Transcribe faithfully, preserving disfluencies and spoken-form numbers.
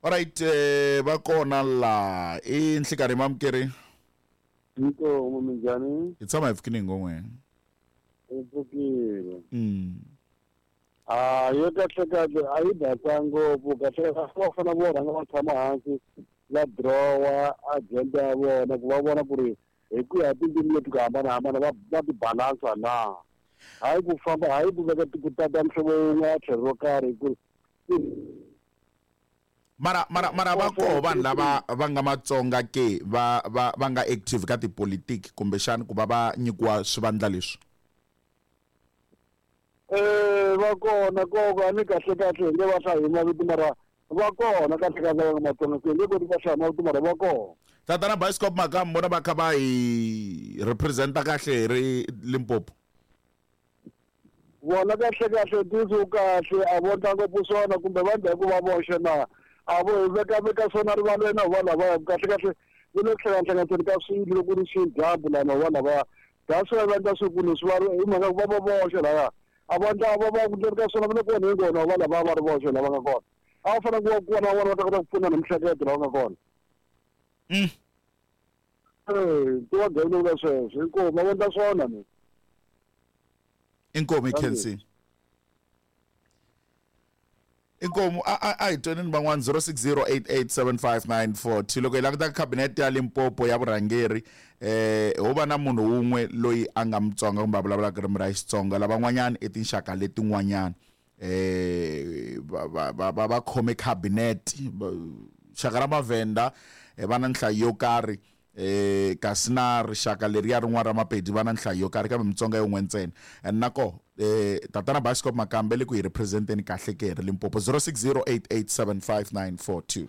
Alright, eh va kona la i nhlikarhi mamukeri. Inkomu, minjhani? Hi tshama hi pfukile ngomwe. Hi pfukile. Mm. Ah, yo kahle kahle a yi basa ngopfu kahle kahle va fanele vo rhanga va tshama hansi va dirowa agenda ya vona ku va vona ku ri hi ku ya tindzimi leti ku hambanahambana va va ti balansa na hayi ku famba hayi ku veka ku tata muhlovo wun'we ya tlhelo ro karhi ku mara mara mara va koho vanhu lava va nga Matsonga ke va va va nga active ka tipolitiki kumbexani ku va va nyikiwa swivandla leswi? Eh va kona koko a ni kahle kahle hi nge va hlayi mavito mara va kona kahle kahle va nga Matsonga ke nge koti va hlaya mavito mara va kona. Tatana Bioscope Makamu vona va kha va hi representa kahle hi ri Limpopo. Vona kahle kahle ntiyiso wu kahle a vo ndla ngopfu swona kumbe va ndla hi ku va voxe na a vo hi veka veka swona rivaleni va lavaya kahle kahle va le ku hlangahlanganiseni ka swilo loko ku ri xidyambu lana va lavaya that's why va endla swi ku leswi va hi mhaka ku va va voxe laya a va ndla va va ku ndleni ka swona va le ku onheni kona va lavaya va ri voxe lava nga kona a va fanele ku va kona van'wana va ta kota ku pfuna na mihleketo lava nga kona. Mm. Eh ti va gavula vula sweswo inkomu va endla swona ni. Inkomu Khensi. Inkomu a a a hi twenini van'wana zero six zero eight eight seven five nine four two loko hi languta cabinet ya Limpopo ya vurhangeri eh ho va na munhu wun'we loyi a nga Mutsonga kumbe a vulavulaka ririmi ra Xitsonga lavan'wanyana i tinxaka letin'wanyana eh va va va va va khome cabinet xaka ra Mavhenda va na nhlayo yo karhi eh kasi na rixaka leriya rin'wana ra Mapedi va na nhlayo yo karhi kambe Mutsonga yin'we ntsena and nako eh tatana Bioscope Makambe le ku hi representeni kahle ke hi ri Limpopo zero six zero eight eight seven five nine four two.